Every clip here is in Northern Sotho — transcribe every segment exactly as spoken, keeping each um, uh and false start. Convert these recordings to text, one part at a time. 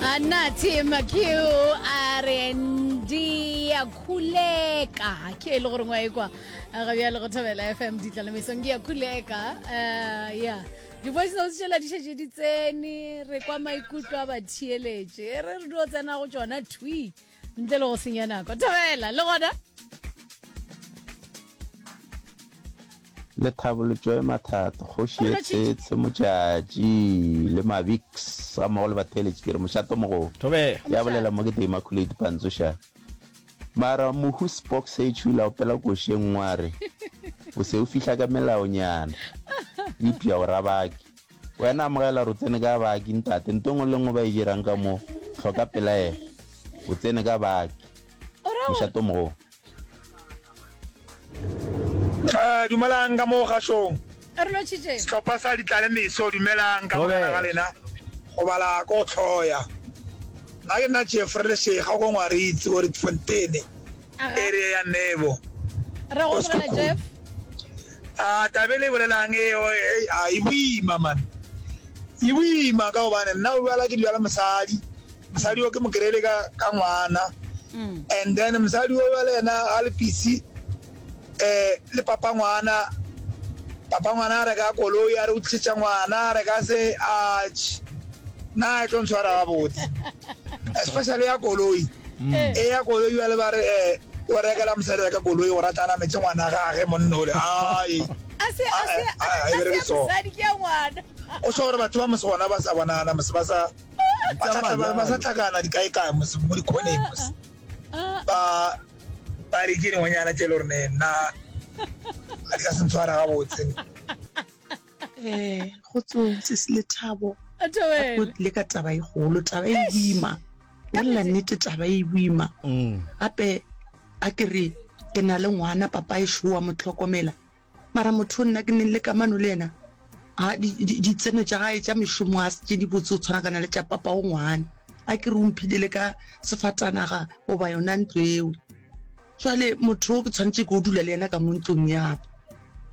Anathi MQ a re ndiyakhuleka ke e le gore ngwa ekwa ga bjale go thobela fm ditlalemesong ke ya khuleka um ya di-voice notes tšela di šetše di tsene re kwa maikutlo a batheeletše e re re dio tsena go tšona thwi ntle le go senya nako thobela le gona Lethabo le Joy Mathato, Kgoši ye Tsetse Motšatši le Mabix gammogo le batheeletši ke re mošato mogolo. Thobela. Ya bolela mo ke the Immaculate Pantsoša. Mara mohu Spock Sage o ile a opela koši e nngwe a re, O se o fihla ka melaonyana, eupša o ra baki. Wena amogela gore o tsene ka baki ntate, nto nngwe le nngwe ba e dirang ka mo, hloka pelaelo. O tsene ka baki. Mošato mogolo. Eh, dumelang ka mo gašong. Re lotšhitše. Sehlopha sa Ditlale Meso, dumelang ka mogala ga lena. Go bala ko hloya. Nna ke nna Jeffrey Lešega ko Ngwaritsi ko Rietfontein, area ya Nebo. Re go amogela Jeff. A taba e le e bolelang e, a e boima man. E boima ka gobane nna o bjala ke dula le mosadi. Mosadi o ke mo kry-ile ka ka ngwana. And then mosadi o bjale yena a le busy eh le papa ngwana. Papa ngwana a reka koloi a re o tlišetša ngwana a reka se atjhe nna e tlo ntshwara gabotse especially ya koloi. E ya koloi bjale ba re eh o rekela mosadi wa ka koloi gore a tla nametse ngwana gage monna ole ai A se a se a a e se bereke ya so. mosadi ke ya ngwana. O sho gore batho ba mose gona ba sa bonana mose ba sa ba sa ba sa tlhakana dikaekae mose mo dikhoneng mose ba ba re ke dingwenyana tše le gore ne nna a di ka se ntshwara gabotse. Eh, kgotsong sesi Lethabo. A Gape o tlile ka taba e kgolo, taba e boima. Bolela nnete, taba e boima. Gape a ke re ke na le ngwana, papa ešo wa mo hlokomela. Mara motho o nna ke neng le kamano le yena, a di, di, ditseno tša gae tša mešomo a se tše dibotse go tshwanakana le tša papa o ngwana. A ke re o mphile le ka sefatanaga goba yona ntlo eo. Jwale motho o ke tshwanetše ke o dula le yena ka mo ntlong ya ka.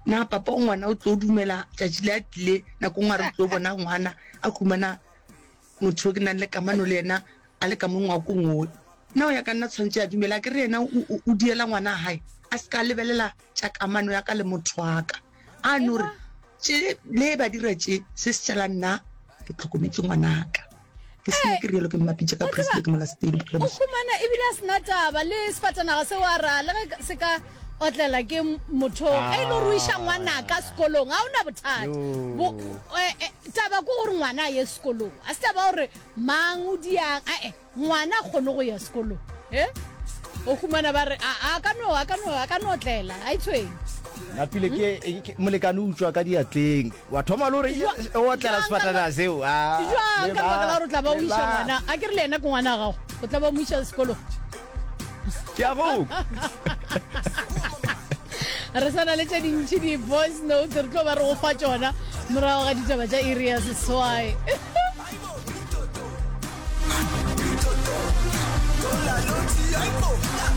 Na papa o ngwana o tlo dumela tšatši le a tlile nako nngwe a re o tlo bona ngwana a humana motho o ke nang le kamano le yena a le ka mo ngwakong wo? Na o ya ka nna tshwanetše a dumela? A ke re yena o, o, o diela ngwana gae a se ka lebelela tša kamano ya ka le motho wa ka. A no re, Tše, le ba dira tše, se se tšala nna ke hlokometše ngwanaka. Ke se ke rialo ke mmapitše ka Presley ke mola Stady bophelo O bohle. humana ebile a sena taba le sefatanaga seo a ra le ge se ka otlela ke motho ge e le gore o iša ngwanaka sekolong ga o na bothata. Bo, eh, eh, taba ke gore ngwana a ye sekolong a se taba gore mang o diang ae ngwana a kgone go ya sekolong e o humana ba re a a ka no a ka no a ka no otlela a itshweng Napile ke molekane o utswa ka diatleng wa thoma le gore o otlela sefatanaga seo a jwang ka lebaka la gore o tla ba o iša ngwana a ke re le yena ke ngwana wa gago o tla ba o mo iša sekolong ke a go re sa na le tše dintši di-voice notes re tlo ba re go fa tšona morago ga ditaba tša iri ya seswai